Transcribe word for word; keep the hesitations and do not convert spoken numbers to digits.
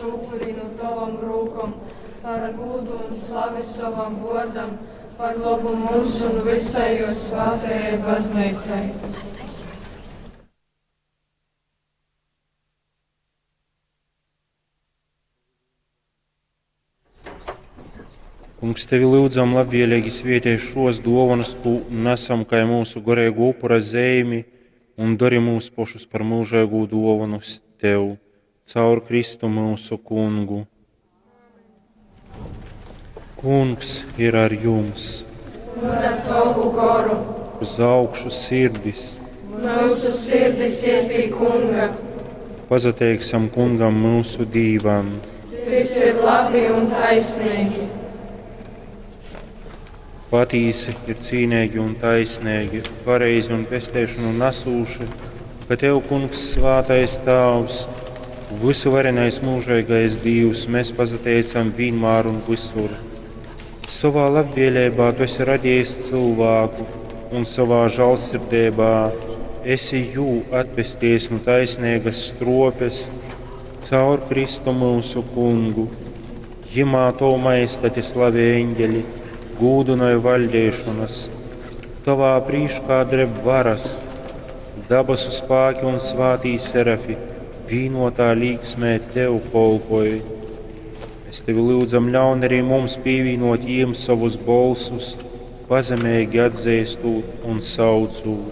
īpašu upuri nu tovom rūkom, par gūdu un slavi sovam vōrdam, par lobu mums un vysai jō svātajai Bazneicai. Kungs, tevi lyudzam, labvēlīgi svietej šos dōvonas, kū nesam kai mūsu goreigo upura zeimi, un dori mūs pošus par mūžeigū dōvonu tev, caur Kristu mūsu kungu. Kungs ir ar jums. Un ar tovu goru. Uz augšu sirdis. Mūsu sirdis ir pie Kunga. Pasateiksim Kungam mūsu Dīvam. Tys ir labi un taisnīgi. Patīsi ir cīnīgi un taisnīgi, pareizi un pesteišanu nesūši, ka Tev, Kungs, svātais Tāvs, visuvarenais mūžīgais Dīvs, mēs pasateicam vienmēr un visur. Savā labvēlībā Tu esi radījis cilvēku un savā žēlsirdībā esi jū atpestījis no taisnīgas stropes caur Kristu mūsu kungu. Jimā to maestati slavē eņģeļi, gūdinoja vaļdēšanas, tavā prīškā dreb varas, dabasu spāki un svātī serafi, vīnotā līksmē tev kolpoj. Mēs tevi lūdzam, ļaun arī mums pievienot jiem savus bolsus, pazemīgi atzīstot un saucot.